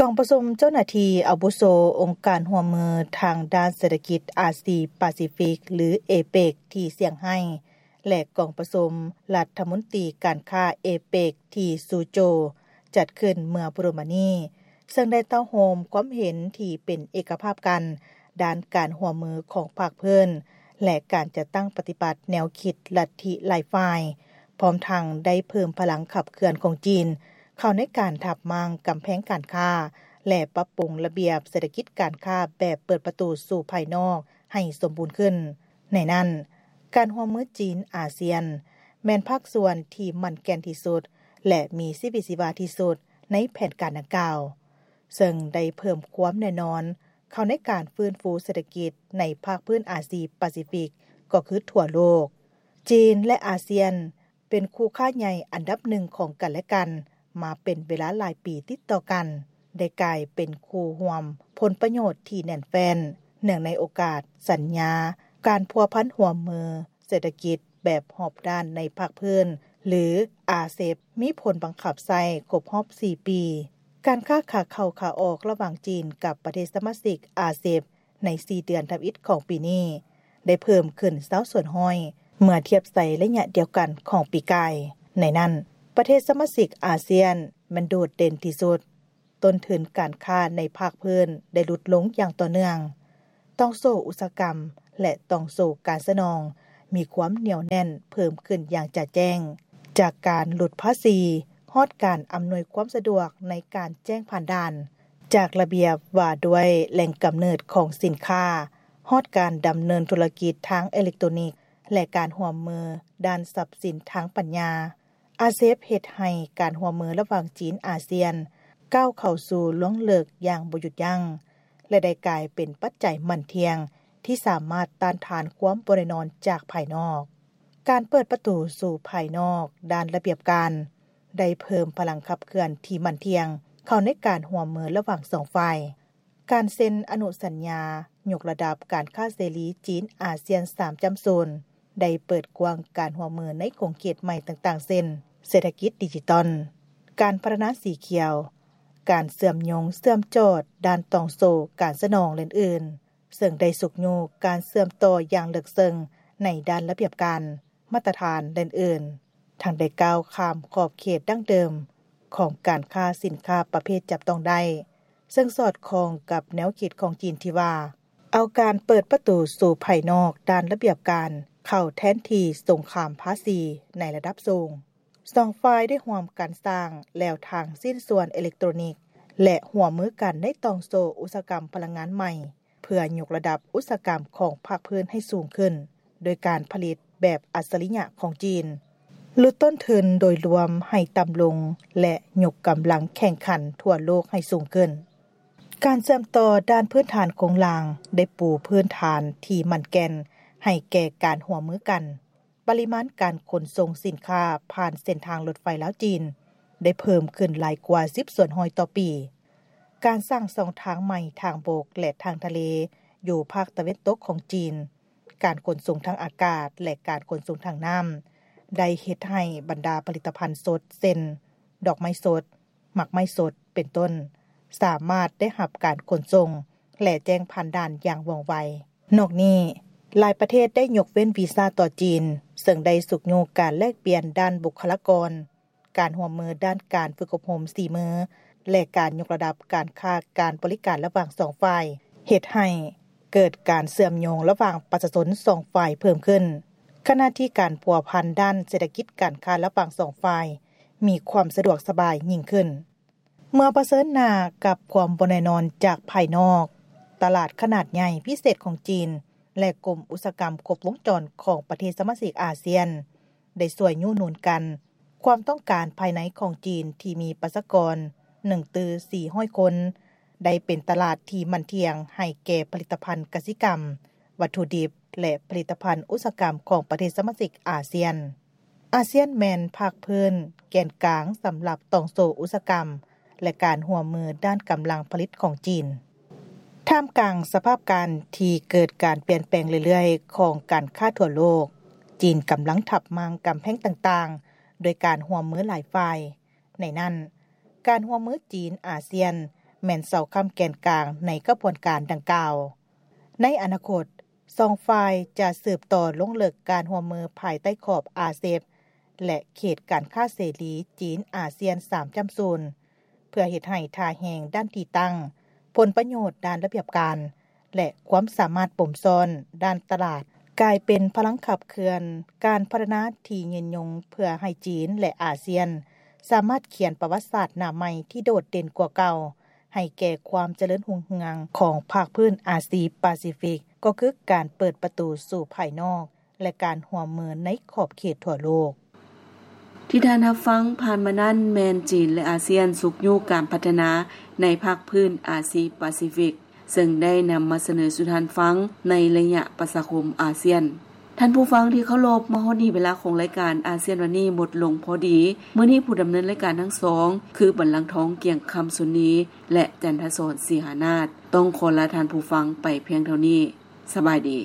ກອງປະຊຸມເຈົ້າໜ້າທີ່ອາວຸໂສອົງການຮ່ວມມືທາງດ້ານເສດຖະກິດອາຊີປາຊີຟິກ ຫຼື ເອເປກ ທີ່ຊຽງໄຮ້ ແລະ ກອງປະຊຸມລັດຖະມົນຕີການຄ້າເອເປກ ທີ່ຊູໂຈ ຈັດຂຶ້ນເມື່ອບໍ່ດົນມານີ້ ເຊິ່ງໄດ້ເຕົ້າໂຮມຄວາມເຫັນທີ່ເປັນເອກະພາບກັນ ດ້ານການຮ່ວມມືຂອງພາກພື້ນ ແລະ ການຈັດຕັ້ງປະຕິບັດແນວຄິດລັດທິຫຼາຍຝ່າຍ, ພ້ອມທັງໄດ້ເພີ່ມພະລັງຂັບເຄື່ອນຂອງຈີນ ເຂົ້າໃນການທັບມ້າງກຳແພງການຄ້າ ແລະ ປັບປຸງລະບຽບເສດຖະກິດການຄ້າແບບເປີດປະຕູສູ່ພາຍນອກໃຫ້ສົມບູນຂຶ້ນ. ໃນນັ້ນ, ການຮ່ວມມືຈີນ-ອາຊຽນ ແມ່ນພາກສ່ວນທີ່ໝັ້ນແກ່ນທີ່ສຸດ ແລະ ມີຊີວິດຊີວາທີ່ສຸດໃນແຜນການດັ່ງກ່າວ, ເຊິ່ງໄດ້ເພີ່ມຄວາມແນ່ນອນເຂົ້າໃນການຟື້ນຟູເສດຖະກິດໃນພາກພື້ນອາຊີປາຊີຟິກ ກໍຄືທົ່ວໂລກ. ຈີນ ແລະ ອາຊຽນ ເປັນຄູ່ຄ້າໃຫຍ່ອັນດັບໜຶ່ງຂອງກັນແລະກັນມາເປັນເວລາຫຼາຍປີຕິດຕໍ່ກັນ, ໄດ້ກາຍເປັນຄູ່ຮ່ວມຜົນປະໂຫຍດທີ່ແໜ້ນແຟ້ນ ເນື່ອງໃນໂອກາດສັນຍາການພົວພັນຮ່ວມມືເສດຖະກິດແບບຮອບດ້ານໃນພາກພື້ນ ຫຼື ອາເຊັບ ມີຜົນບັງຄັບໃຊ້ຄົບຮອບສີ່ປີ. ການຄ້າຂາເຂົ້າຂາອອກລະຫວ່າງຈີນກັບປະເທດສະມາຊິກອາເຊັບ ໃນສີ່ເດືອນທຳອິດຂອງປີນີ້ ໄດ້ເພີ່ມຂຶ້ນຊາວສ່ວນຮ້ອຍ ເມື່ອທຽບໃສ່ໄລຍະດຽວກັນຂອງປີກາຍ. ໃນນັ້ນ, ປະເທດສະມາຊິກອາຊຽນແມ່ນໂດດເດັ່ນທີ່ສຸດ, ຕົ້ນທຶນການຄ້າໃນພາກພື້ນໄດ້ຫຼຸດລົງຢ່າງຕໍ່ເນື່ອງ. ຕ່ອງໂສ້ອຸດສາຫະກຳ ແລະ ຕ່ອງໂສ້ການສະໜອງມີຄວາມໜຽວແໜ້ນເພີ່ມຂຶ້ນຢ່າງຈະແຈ້ງ, ຈາກການຫຼຸດພາສີ ຮອດການອຳນວຍຄວາມສະດວກໃນການແຈ້ງຜ່ານດ່ານ, ຈາກລະບຽບວ່າດ້ວຍແຫຼ່ງກຳເນີດຂອງສິນຄ້າ ຮອດການດຳເນີນທຸລະກິດທາງເອເລັກໂຕນິກ ແລະ ການຮ່ວມມືດ້ານຊັບສິນທາງປັນຍາ. ອາເຊັບເຮັດໃຫ້ການຮ່ວມມືລະຫວ່າງຈີນ-ອາຊຽນ ກ້າວເຂົ້າສູ່ລວງເລິກຢ່າງບໍ່ຢຸດຢັ້ງ ແລະ ໄດ້ກາຍເປັນປັດໄຈໝັ້ນທ່ຽງທີ່ສາມາດຕ້ານທານຄວາມບໍ່ແນ່ນອນຈາກພາຍນອກ. ການເປີດປະຕູສູ່ພາຍນອກດ້ານລະບຽບການ ໄດ້ເພີ່ມພະລັງຂັບເຄື່ອນທີ່ໝັ້ນທ່ຽງເຂົ້າໃນການຮ່ວມມືລະຫວ່າງສອງຝ່າຍ. ການເຊັນອະນຸສັນຍາຍົກລະດັບການຄ້າເສລີຈີນ-ອາຊຽນສາມຈ້ຳສູນ ໄດ້ເປີດກວ້າງການຮ່ວມມືໃນຂົງເຂດໃໝ່ຕ່າງໆ ເຊັ່ນ ເສດຖະກິດດິຈິຕອນ, ການພັດທະນາສີຂຽວ, ການເຊື່ອມໂຍງເຊື່ອມຈອດດ້ານຕ່ອງໂສ້ການສະໜອງ ແລະ ອື່ນໆ ເຊິ່ງໄດ້ຊຸກຍູ້ການເຊື່ອມຕໍ່ຢ່າງເລິກເຊິ່ງໃນດ້ານລະບຽບການ, ມາດຕະຖານ ແລະ ອື່ນໆ ທັງໄດ້ກ້າວຂ້າມຂອບເຂດດັ້ງເດີມຂອງການຄ້າສິນຄ້າປະເພດຈັບຕ້ອງໄດ້, ເຊິ່ງສອດຄ່ອງກັບແນວຄິດຂອງຈີນທີ່ວ່າ ເອົາການເປີດປະຕູສູ່ພາຍນອກດ້ານລະບຽບການເຂົ້າແທນທີ່ສົງຄາມພາສີໃນລະດັບສູງ. ສອງຝ່າຍໄດ້ຮ່ວມກັນສ້າງແລວທາງຊິ້ນສ່ວນເອເລັກໂຕຣນິກ ແລະ ຮ່ວມມືກັນໃນຕ່ອງໂສ້ອຸດສາຫະກຳພະລັງງານໃໝ່ ເພື່ອຍົກລະດັບອຸດສາຫະກຳຂອງພາກພື້ນໃຫ້ສູງຂຶ້ນ ໂດຍການຜະລິດແບບອັດສະລິຍະຂອງຈີນ, ຫຼຸດຕົ້ນທຶນໂດຍລວມໃຫ້ຕ່ຳລົງ ແລະ ຍົກກຳລັງແຂ່ງຂັນທົ່ວໂລກໃຫ້ສູງຂຶ້ນ. ການເຊື່ອມຕໍ່ດ້ານພື້ນຖານໂຄງລ່າງໄດ້ປູພື້ນຖານທີ່ໝັ້ນແກ່ນໃຫ້ແກ່ການຮ່ວມມືກັນ. ປະລິມານການຂົນສົ່ງສິນຄ້າຜ່ານເສັ້ນທາງລົດໄຟລາວ-ຈີນ ໄດ້ເພີ່ມຂຶ້ນຫຼາຍກວ່າສິບສ່ວນຮ້ອຍຕໍ່ປີ. ການສ້າງຊ່ອງທາງໃໝ່ທາງບົກ ແລະ ທາງທະເລຢູ່ພາກຕາເວັນຕົກຂອງຈີນ, ການຂົນສົ່ງທາງອາກາດ ແລະ ການຂົນສົ່ງທາງນ້ຳ ໄດ້ເຮັດໃຫ້ບັນດາຜະລິດຕະພັນສົດ ເຊັ່ນ ດອກໄມ້ສົດ, ໝາກໄມ້ສົດ ເປັນຕົ້ນ ສາມາດໄດ້ຮັບການຂົນສົ່ງ ແລະ ແຈ້ງຜ່ານດ່ານຢ່າງວ່ອງໄວ. ນອກນີ້, ຫຼາຍປະເທດໄດ້ຍົກເວັ້ນວີຊາຕໍ່ຈີນ, ເຊິ່ງໄດ້ຊຸກຍູ້ການແລກປ່ຽນດ້ານບຸກຄະລາກອນ, ການຮ່ວມມືດ້ານການຝຶກອົບຮົມສີມື ແລະ ການຍົກລະດັບການຄ້າການບໍລິການລະຫວ່າງສອງຝ່າຍ, ເຮັດໃຫ້ເກີດການເຊື່ອມໂຍງລະຫວ່າງປະຊາຊົນສອງຝ່າຍເພີ່ມຂຶ້ນ, ຂະນະທີ່ການພົວພັນດ້ານເສດຖະກິດການຄ້າລະຫວ່າງສອງຝ່າຍມີຄວາມສະດວກສະບາຍຍິ່ງຂຶ້ນ. ເມື່ອປະເຊີນໜ້າກັບຄວາມບໍ່ແນ່ນອນຈາກພາຍນອກ, ຕະຫຼາດຂະໜາດໃຫຍ່ພິເສດຂອງຈີນ ແລະ ກົມອຸດສາຫະກຳຄົບວົງຈອນຂອງປະເທດສະມາຊິກອາຊຽນ ໄດ້ຊ່ວຍຍູ້ໜູນກັນ. ຄວາມຕ້ອງການພາຍໃນຂອງຈີນທີ່ມີປະຊາກອນໜຶ່ງຕື້ສີ່ຮ້ອຍຄົນ ໄດ້ເປັນຕະຫຼາດທີ່ໝັ້ນທ່ຽງໃຫ້ແກ່ຜະລິດຕະພັນກະສິກຳ, ວັດຖຸດິບ ແລະ ຜະລິດຕະພັນອຸດສາຫະກຳຂອງປະເທດສະມາຊິກອາຊຽນ. ອາຊຽນແມ່ນພາກພື້ນແກ່ນກາງສຳລັບຕ່ອງໂສ້ອຸດສາຫະກຳ ແລະ ການຮ່ວມມືດ້ານກຳລັງຜະລິດຂອງຈີນ. ທ່າມກາງສະພາບການທີ່ເກີດການປ່ຽນແປງເລື້ອຍໆຂອງການຄ້າທົ່ວໂລກ, ຈີນກຳລັງທັບມ້າງກຳແພງຕ່າງໆ ໂດຍການຮ່ວມມືຫຼາຍຝ່າຍ. ໃນນັ້ນ, ການຮ່ວມມືຈີນ-ອາຊຽນ ແມ່ນເສົາຄ້ຳແກ່ນກາງໃນຂະບວນການດັ່ງກ່າວ. ໃນອະນາຄົດ, ສອງຝ່າຍຈະສືບຕໍ່ລົງເລິກການຮ່ວມມືພາຍໃຕ້ຂອບ RCEP ແລະ ເຂດການຄ້າເສລີຈີນອາຊຽນ ສາມຈຸດສູນ ເພື່ອເຮັດໃຫ້ທ່າແຮງດ້ານທີ່ຕັ້ງ, ຜົນປະໂຫຍດດ້ານລະບຽບການ ແລະ ຄວາມສາມາດປົມຊ້ອນດ້ານຕະຫຼາດ ກາຍເປັນພະລັງຂັບເຄື່ອນການພັດທະນາທີ່ຍືນຍົງ ເພື່ອໃຫ້ຈີນ ແລະ ອາຊຽນ ສາມາດຂຽນປະຫວັດສາດໜ້າໃໝ່ທີ່ໂດດເດັ່ນກວ່າເກົ່າ ໃຫ້ແກ່ຄວາມຈະເລີນຮຸ່ງເຮືອງຂອງພາກພື້ນອາຊີປາຊີຟິກ, ກໍຄືການເປີດປະຕູສູ່ພາຍນອກ ແລະ ການຮ່ວມມືໃນຂອບເຂດທົ່ວໂລກ. ທີ່ທ່ານຮັບຟັງຜ່ານມານັ້ນ ແມ່ນຈີນ ແລະ ອາຊຽນຊຸກຍູ້ການພັດທະນາໃນພາກພື້ນອາຊີປາຊີຟິກ, ເຊິ່ງໄດ້ນຳມາສະເໜີສູ່ທ່ານຟັງໃນໄລຍະປະຊາຄົມອາຊຽນ. ທ່ານຜູ້ຟັງທີ່ເຄົາລົບ, ມາຮອດນີ້ເວລາຂອງລາຍການອາຊຽນວັນນີ້ໝົດລົງພໍດີ. ມື້ນີ້ຜູ້ດຳເນີນລາຍການທັງສອງ ຄື ບັນລັງທອງ ກຽງຄຳ ຊຸນນີ ແລະ ຈັນທະສອນ ສີຫານາດ ຕ້ອງຂໍລາທ່ານຜູ້ຟັງໄປພຽງເທົ່ານີ້. ສະບາຍດີ.